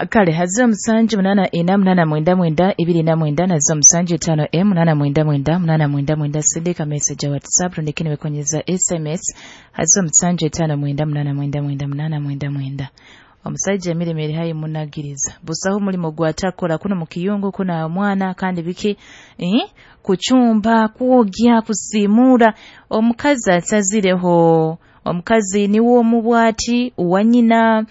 Kale hazo 784 899 29 na zo 75 m 899 899. Sindika message ya WhatsApp rundikini wekonyeza SMS hazo 759 899. Omusajja emirimu eri hayi munagiriza busaho omulimo gwatakora kuno mukiyungu kuna omwana kandi biki kuchumba, kwogya, kusimura. Omukazi asazireho, omukazi niwe omubwati wanyina.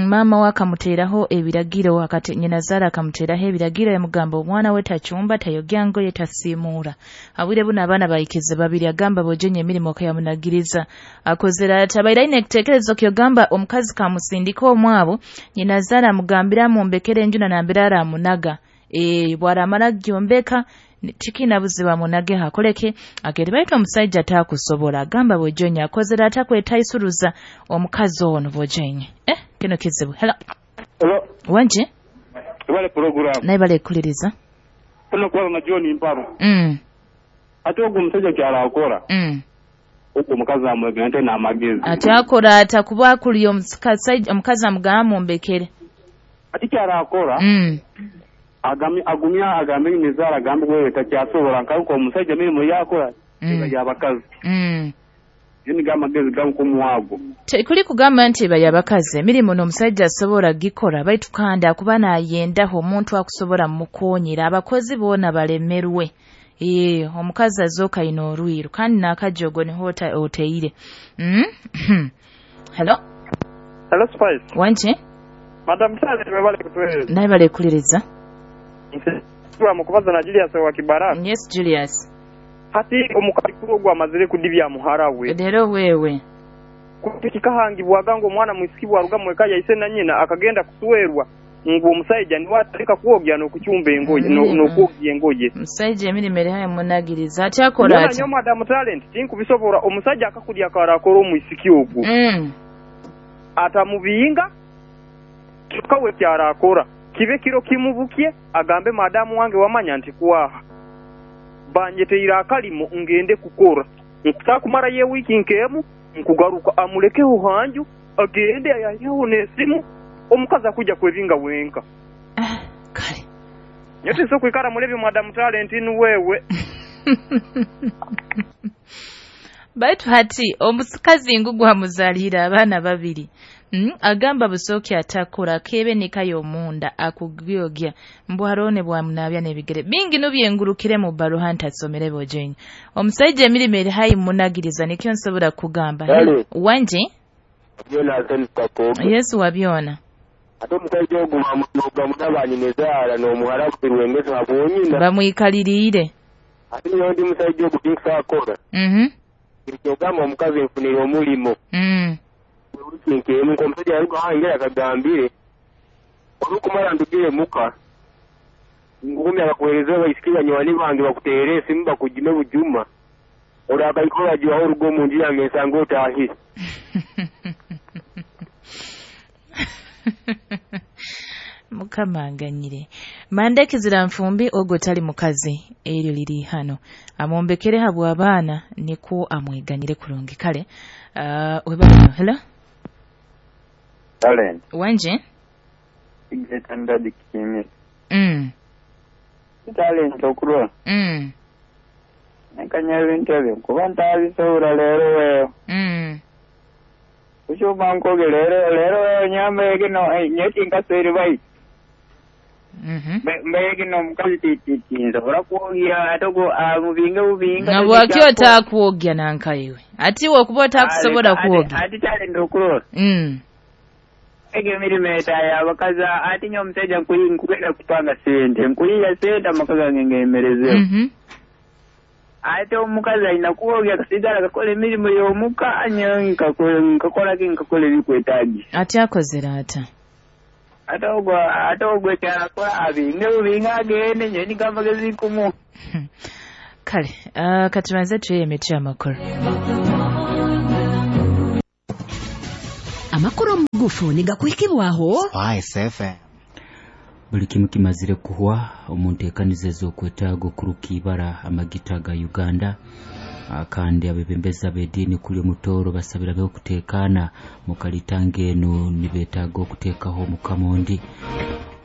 Mama we akamuteraho ebiragiro, akati nyina zara akamuteraho ebiragiro, yamugamba omwana we tachumba, tayogya ngoye, tasimura. Abwire buno abaana bayikize babiri, agamba bojenye emirimu okayamunagiriza akozera ati abaire aine ekitekerezo kyogamba omukazi kamusindika omwabo, nyina zara amugambira amumbekere enju nanambira aramunaga. Bwaramara gyombeka tikina buziba munage hakoleke agere. Baitu omusajja atakusobola agamba bojenye akozera atakwetaisuruza omukazi ono bojenye. Kino kizibu. Hello. Hello. Wanje? Ibale program. Naye bale kuliriza. Kuno kwa na John Mparo. Ate ogwo omusajja kyalakora. Ogwo omukazi amwegante n'amagezi. Ate akora atakuba akuli omukazi amugamba mumbekere. Ate kyalakora. Agumya agambe nizara agambe wewe takyasobola nkaruko omusajja mirimu yakora yabakazi. Yini gamagezi gamukumuwago. Kuli kugamba nti bayabakazi emirimu n'omusajja asobola gikora, baitu kandi akuba nayendaho omuntu akusobola mukonyera abakozi boona balemerwe. Omukazi azoka ino orwiru kandi nakajogo niho oteire. Hello. Hello Spice. Wanje? Madam Sale webale kutuweza. Naye bale kuliriza. Mukubaza na Julius wa Kibaraka. Yes Julius. Hati omukazi ogwo amazire kudibya muhara we. Rero wewe. Kikahangibwaga ngo omwana mwisiki bwaruga mweka yaise na nyina akagenda kusuwerwa ngo omusajja niwe ataleka kwogya n'okuchumba engoye n'okwogya engoye. Omusajja emirimu eri hayi munagiriza ati akora ati. Nyo Madam Talent tinkubisobola omusajja akakulya akarakora omwisiki ogwo. Atamubinga kyokka we kyarakora. Kibe kiro kimubukie agambe madamu wange wamanya nti kuwaha banyeteira akalimo ngende kukora nkusakumara ye wiki nkemu nkugaruka amulekeho hanju agende ayayeho n'esimu omukazi akuja kwebinga wenka. Kale nyote so kwikara mulebi Madam Talent ni wewe. Baitu hati omukazi ngugu amuzalira abaana babiri. Agamba busoki atakora kebe nikayo munda akugyogya mbwarone bwamunabya n'ebigere bingi nubyengurukire mu baruha ntasomere bojenye. Omusajja emirimu eri hayi munagiriza nikyo nsobola kugamba. Wanje? Yesu wabyona. Ate omusajja ogwo bamunoga nezaala n'omuhara birwengeza abonyina bamwikaliriire. Ate niyo ndi musajja ogwo tinkusakora. Kyogamba omukazi nfunire omulimo. Nkemu omusajja yaruga hangera akagambire olukumara ndugire muka ngumya akakuhereza abaisiki banywani bange bakuteere esimu bakujime bujuma orakaikora jiwaho orugo omu nju yange nsanga otahire. Mukama anganyire. Mandeki zira nfumbi ogwo tali mukazi eryo liri hano amumbekere habwa abaana niko amweganyire kurungi. Kale webale. Hello. Talent. Wanje? Igetanda dikimi. Talent okurwa. Nakanya ebintu ebyo kuba ntabisobola leero wewe. Kushuma nkoge leero wewe nyambe kino nyeti nkaseri bai. Mbe kino omukazi tinsobola kwogya ate ogwo amubinge bubinga. Na bwaki otakwogya nankaiwe? Ati wokuba otakusobola kwogya. Ati Talent okurwa. Ege emirimu etaya abakazi ati nyo omusajja nkugenda kupanga sente nkuyiya sente amaka gange ngemerezeho. Ate omukazi alina kwogya kasigala kakola emirimu y'omuka nkakolaki nkakola ebikwetaagisa. Ate akozera ata? Ate ogwo ekyalakola abinge bubinge agende nyo niko amagezi nkumu. Kale katubanze tuye emiti amakulu. Amakuru mugufu nigakuhikibwaho Spice FM. Buli kimu kimazire kuhwa omunteekaniza ez'okwetaaga okuruka ibara amagita ga Uganda. Kandi abebembezi ab'ediini kuli omutoro basabira beho okuteekaana mukalitanga eno nibeetaaga okuteekaho omukama ondi.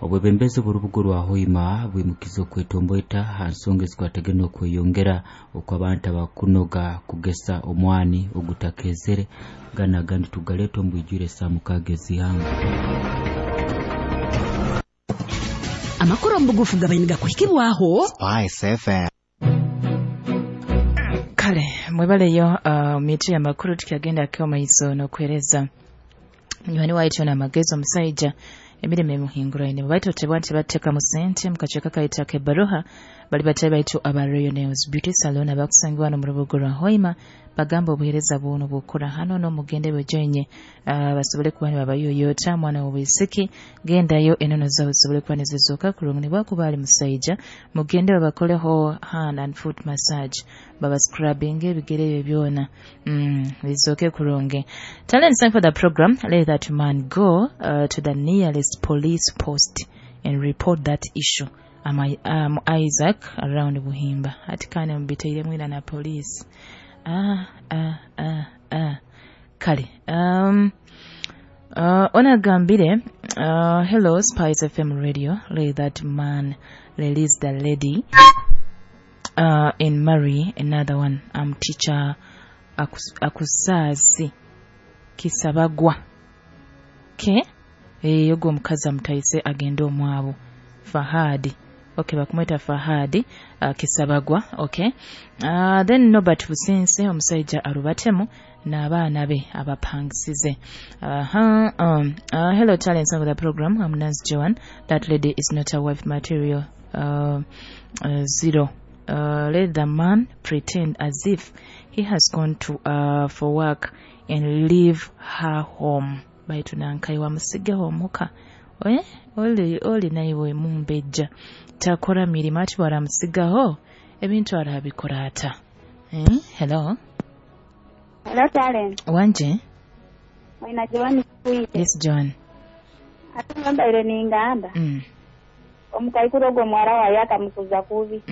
Obwebembezi bw'orubuga rwa Hoima bwimukiza okwetomboita ha nsonga ezikwatagene okweyongera okw'abantu abakunoga kugesa omwani ogutakezere gana agandi tugaleeta omu bwijwire saa 6 ez'ihanga. Amakuru omu bugufu gabaine gakuhikibwaho Spice FM. Kale mwebaleyo mitu ya makuru tukyagenda akeo maiso n'okwereza munywani waitu n'amagezi omusaija emirimo emuhinguraine baitu otebwa nti bateka mu sente mukaceka kaita kebaruha bali batayi baitu aba Royal Nails Beauty Salon abakusangibwa mu rubuga rwa Hoima bagamba obuhereza buno bukora hano n'omugende bwejoinye basobole kuba nibabayoyota mwana w'obwisiki gendayo enono zawe zisobole kuba nizizoka kurungi bwakuba ali musaija mugende babakoleho hand and foot massage baba scrubbing ebigere ebyo byona bizoke kurungi. Talent sign for the program, let that man go to the nearest police post and report that issue. I'm Isaac around Buhimba. Ati kane mbiteire mwina na police. Kale. Ona gambire, hello Spice FM radio, let that man release the lady and marry another one. I'm teacher Akusazi Kisabagwa. Okay? Yogo omukazi amutayise agende omwabo. Fahadi. Okay, bakumweta Fahadi Kisabagwa. Okay. Then Norbert Busense omusajja arubatemu n'abaana be abapangisize. Hello talents of the program. I'm Nance Joan. That lady is not a wife material. Zero. Let the man pretend as if he has gone to for work and leave her home. Baitu nankai wamusigeho omuka. Oli naiwe mumbejja takora mirimo ati baramusigaho ebintu arabikora ata. Hello. Hello talent. Wanje. Mwina Joan kuite. Yes Joan. Ati ngamba ningamba. Omukaikuru ogwo mwara waye akamukuza kubi.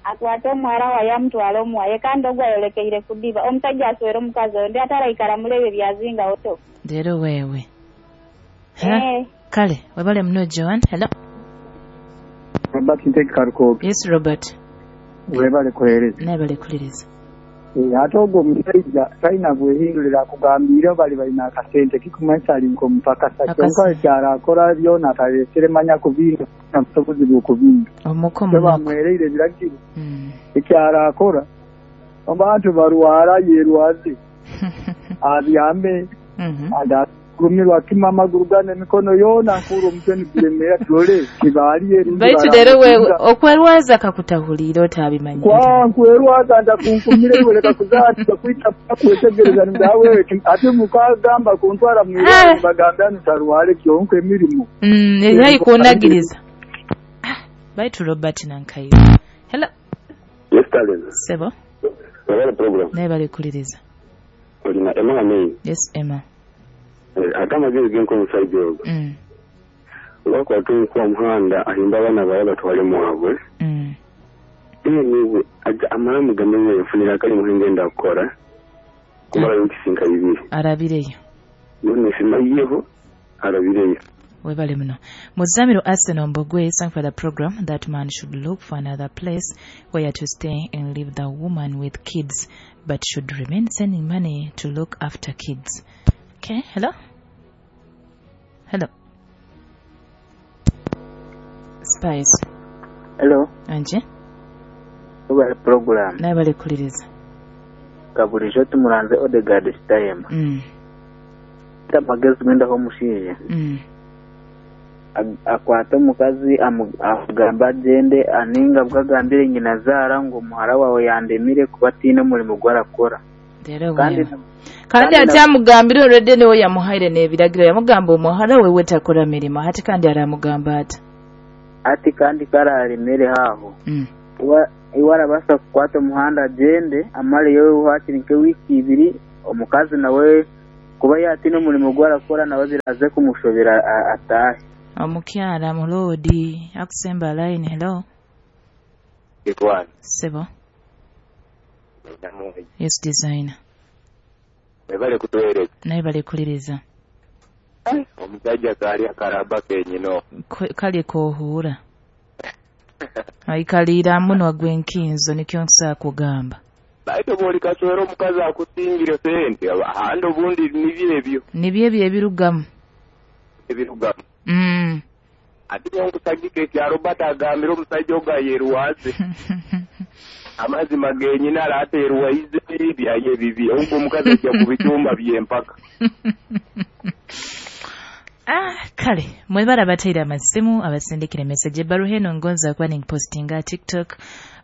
Akwata omwara waye amutwala omuwaye kandi ogwo ayolekeire kudiba. Omusajja aswera omukazi oyo ndi ataraikara mulebe byazinga oto. Rero wewe. Kale, webale mno Joan. Hello. Robert Nteki Karukobe. Yes Robert. Webale kuhereza. Nabale kuliriza. Ate ogwo omusajja talina bwehindulira akugambira bali balina akasente kikumanyisa ali nk'omupakasa kyonka ekyalo akola byona atalesere manya kubinga na busobozi bw'okubinga. Bamwereire ebiragiro. Ekyalo akora abantu barwara yerwaze abyambe agumirwa kima amaguru gane emikono yona nkura omutwe niguremera turole kibaliye. Baitu rero wewe okwerwaza kakutahulira otabimanyi. Kwa nkwerwaza ndakunkumire iwe kuzaati kwita kwetegereza ndawe ate mukagamba kuntwara mwirwaro bagamba ntarwale kyonka emirimu. Eyi kunagiriza. Baitu Robert Nankayi. Hello. Yes talent. Sebo. Wabale program. Naye bali kuliriza. Olina Emma May. Yes Emma. Ate amagezi genko omusajja ogwo olwakwata omukuwa muhanda ahimba abaana bawe batwale mwabwe. Niwe amara mugambe nfunira akalimu ngenda kukora kumara nkisinka bibiri arabireyo none simayiyeho arabireyo. Webale muno. Muzamiro Arsenal Mbogwe sang for the program that man should look for another place where to stay and leave the woman with kids, but should remain sending money to look after kids. Okay, hello? Hello. Spice. Hello. Anje? Webale program. Nabale kuliriza. Kabulijo tumuranze Odegaard Stayema. Tamagezi gwenda ho mushinje. Akwata omukazi amugamba agende aninga bwagambire nyina zara ngo muhara wawe yandemire kuba atiine omurimo gwarakora. Kandi ati amugambire already niwe yamuhaire n'ebiragiro yamugamba omuhara wewe takora mirimo hati kandi aramugamba ati ati kandi kararemere haho. Iwe arabasa kukwata omuhanda agende amaleyo hakiri nk'ewiki ibiri omukazi nawe kuba yatiine omurimo gwarakora nawe biraze kumushobera atahe. Omukyala mulodi akusemba line. Hello. Ikwan. Sebo. Yes designer. Webale kutuweereza. Naye bale kuliriza. Omusajja kaali akaraba kenyino. Kali kohuura. Aikalira muno agwenkinzo nikyo nsa kugamba. Baito boli kaswero omukazi akusingira sente ahandi obundi nibyo ebyo. Nibyo ebyo ebirugamu. Ebirugamu. Ate nkusagike ekya Robert agambira omusajja ogayerwaze. Amazima genyina araterwaize byaye bibi. Ogwo omukazi ajja kubitumba byempaka. Kale mwebara bateera amasimu abasindikira message ebbaluha eno ngonza kuba ninpostinga TikTok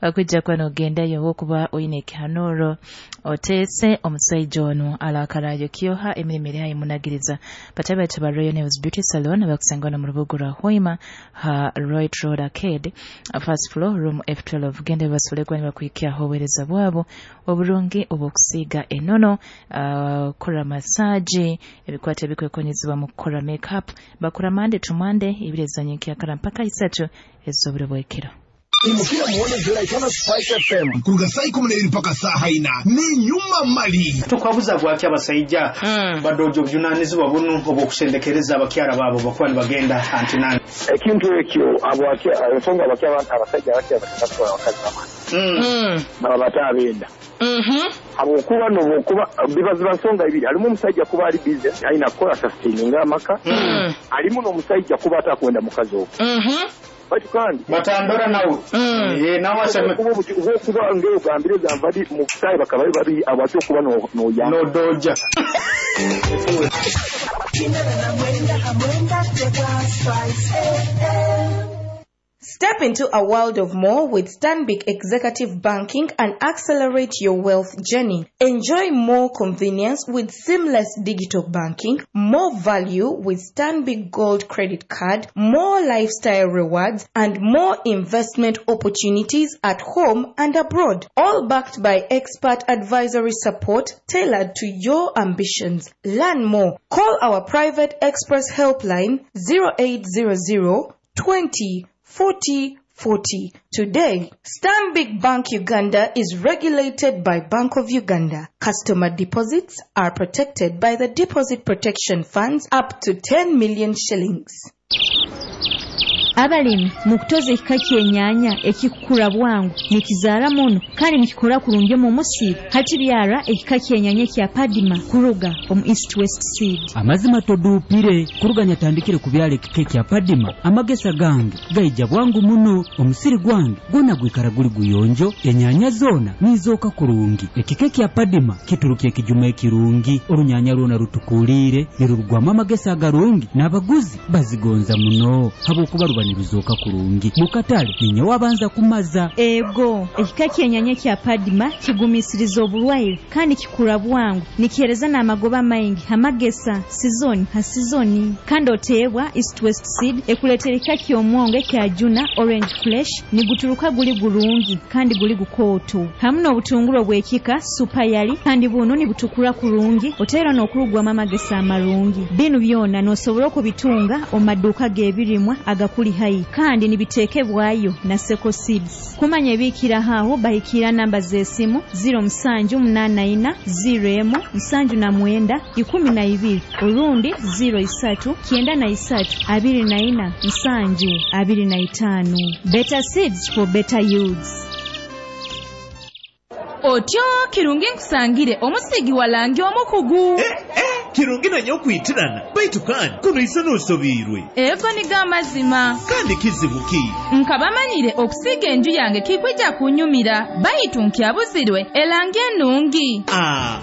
okujja kuba n'ogendayo okuba oyina ekihanuro oteese omusajja ono alakalayo kyoha emirimu eri ayimunagiriza batabe ba Royal Nails Beauty Salon abakusanga wano mu lubugo lwa Hoima ha Royal Road Arcade first floor room F12 genda basobole kuba nibakuhikyaho obuweereza bwabo oburungi obw'okusiiga enono, kukola massage, ebikwata ebikwekonyezebwa mu kukola makeup bakora Monday to Monday ibirezanye nkyakara mpaka isatu ez'oburo bw'ekiro. Imukira muone Jolaitano Spice FM kuruga saa 12 mpaka saa 4 ni nyuma mali. Tukwabuza gwaki abasajja badojo obuvunanyizibwa buno obw'okusendekereza abakyala baabo bakuba nibagenda antinani. Ekintu ekyo ensonga abakyala abasajja abakyala batatwala abakazi bamani baba batabenda. Habwokuba n'obwokuba bibaziba nsonga ibiri alimu omusajja kuba ali busy alina kukola sustaining amaka alimu n'omusajja kuba atakwenda mukazi ogwo. Kandi batandora nawe nawe aseme kuba ngeo gambire zamvadi mu sai bakaba babi abatyo kuba no ya no doja. Step into a world of more with Stanbic Executive Banking and accelerate your wealth journey. Enjoy more convenience with seamless digital banking, more value with Stanbic Gold Credit Card, more lifestyle rewards, and more investment opportunities at home and abroad. All backed by expert advisory support tailored to your ambitions. Learn more. Call our private express helpline 0800 20 40 40. Today, Stanbic Bank Uganda is regulated by Bank of Uganda. Customer deposits are protected by the Deposit Protection Funds up to 10 million shillings. Abalimi mukutoza ekika ky'ennyaanya ekikukula bwangu nikizaala muno kandi nikikora kurungi mu musiri hakibyara ekika ky'ennyaanya kya Padima kuruga omu East West Seed. Amazima toduupire kuruganya tandikire kubyala ekika kya Padima amagesa gange gaija bwangu muno omusiri gwange gwona gwikara guli guyonjo ennyaanya zoona nizooka kurungi. Ekika kya Padima kituruka ekijuma ekirungi orunyanya lwona rutukuliire nirurugwamu amagesa agarungi n'abaguzi bazigonza muno habwokuba ruba niruzoka kurungi mukatale ninye wabanza kumaza. Ego ekika ky'ennyaanya kya Padima kigumisiriza obulwaire kandi kikura bwangu nikihereza n'amagoba maingi amagesa sizoni ha sizoni kandi oteebwa East West Seed ekuleetera ekika ky'omwongo ekya Juna Orange Flesh niguturuka guli gurungi kandi guli gukooto hamu n'obutungulu obw'ekika Super Yali kandi buno nibutukura kurungi oteera n'okurugwamu amagesa amarungi. Binu byona n'osobola okubitunga omu maduuka g'ebirimwa agakuli hai kandi nibitekebwayo na Seko Seeds. Kumanya ebikira aho bahikira namba z'esimu 0784 01 79 12 orundi 03 93 24 7 25. Better seeds for better yields. Otyo kirungi nkusangire omusigi walangi omukugu. Kirungi nanyo okwitirana baitu kandi kuno isa n'osobiirwe. Ego niga amazima. Kandi kizibu ki? Nkabamanyire okusiga enju yange kikwija kunyumira baitu nkyabuzirwe elangi ennungi.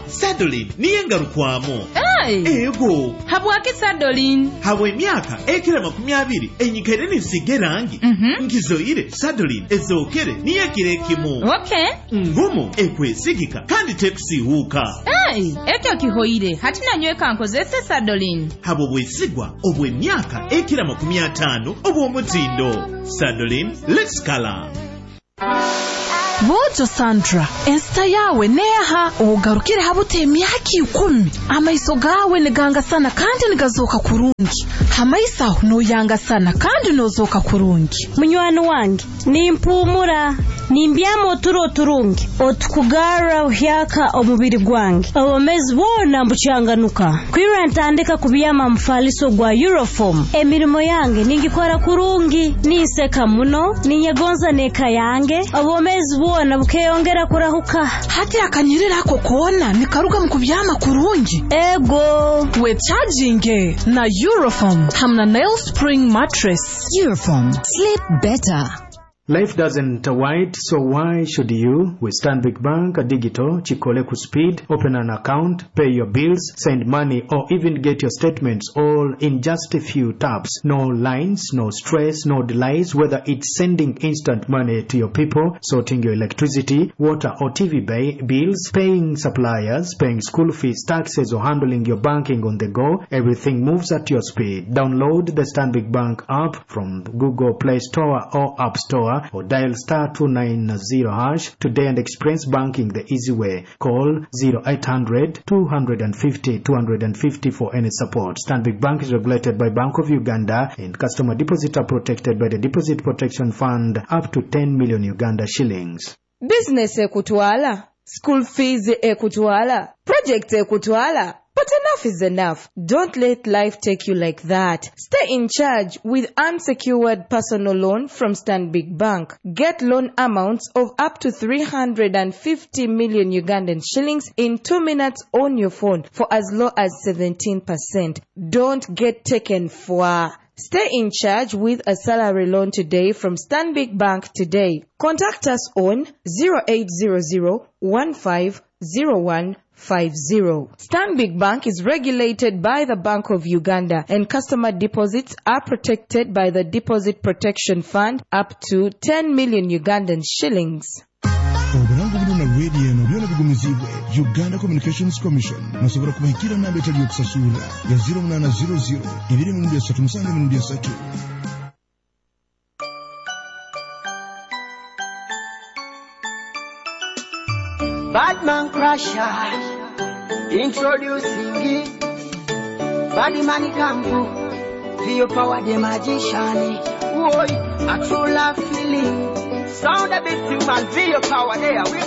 Sadolin niye ngarukwamu. Hey. Ego. Habwaki Sadolin? Habwa emyaka ekira 20 enyikaire ninsiga erangi. Nkizoire Sadolin ezookere niyo ekiro ekimu. Okay. Ngumu ekwesigika kandi tekusiihuuka. Hey, ekyo kihoire hati nanyweka nkozese Sadolin. Habwo bwesigwa obw'emyaka ekira 50 obw'omutindo. Sadolin, let's color. Bojo Sandra, ensita yawe neha ogarukire habute emyaka 10 amaiso gawe nigangasana kandi nigazoka kurungi hamaiso noyangasana kandi nozoka kurungi. Munywani wange nimpumura Nimbyama oturo oturungi otukugarra buhyaka omubiri gwange. Obwomeezi bwona mbukyanganuka. Kwirra ntandika kubyama mufaliso gwa Euroform. Emirimo yange ningikora kurungi, ninseka muno, ninyegonza n'eka yange. Obwomeezi bwona bukeyongera kurahuka. Hati akanyirira ako koona nikaruga mu kubyama kurungi. Ego. Wecharginge na Euroform hamna Nail Spring Mattress. Euroform. Sleep better. Life doesn't wait, so why should you? With Stanbic Bank Digital, Chikole Speed, open an account, pay your bills, send money, or even get your statements all in just a few taps. No lines, no stress, no delays, whether it's sending instant money to your people, sorting your electricity, water or TV bills, paying suppliers, paying school fees, taxes, or handling your banking on the go, everything moves at your speed. Download the Stanbic Bank app from Google Play Store or App Store, or dial star 290# today and experience banking the easy way. Call 0800 250 250 for any support. Stanbic Bank is regulated by Bank of Uganda and customer deposits are protected by the Deposit Protection Fund up to 10 million Uganda shillings. Business ekutwala, school fees ekutwala, project ekutwala. But enough is enough. Don't let life take you like that. Stay in charge with unsecured personal loan from Stanbic Bank. Get loan amounts of up to 350 million Ugandan shillings in 2 minutes on your phone for as low as 17%. Don't get taken for. Stay in charge with a salary loan today from Stanbic Bank today. Contact us on 0800 1501 50. Stanbic Bank is regulated by the Bank of Uganda and customer deposits are protected by the Deposit Protection Fund up to 10 million Ugandan shillings. Oburango buno na radio eno byona bigumizibwe Uganda Communications Commission. Musobola kubahikira namba etali yokusasula ya 0800 237 3. Badman Crusher, introducing Badman Kampu, the power the magician. Oi, a true love feeling. Sound a bit human, feel your power there. We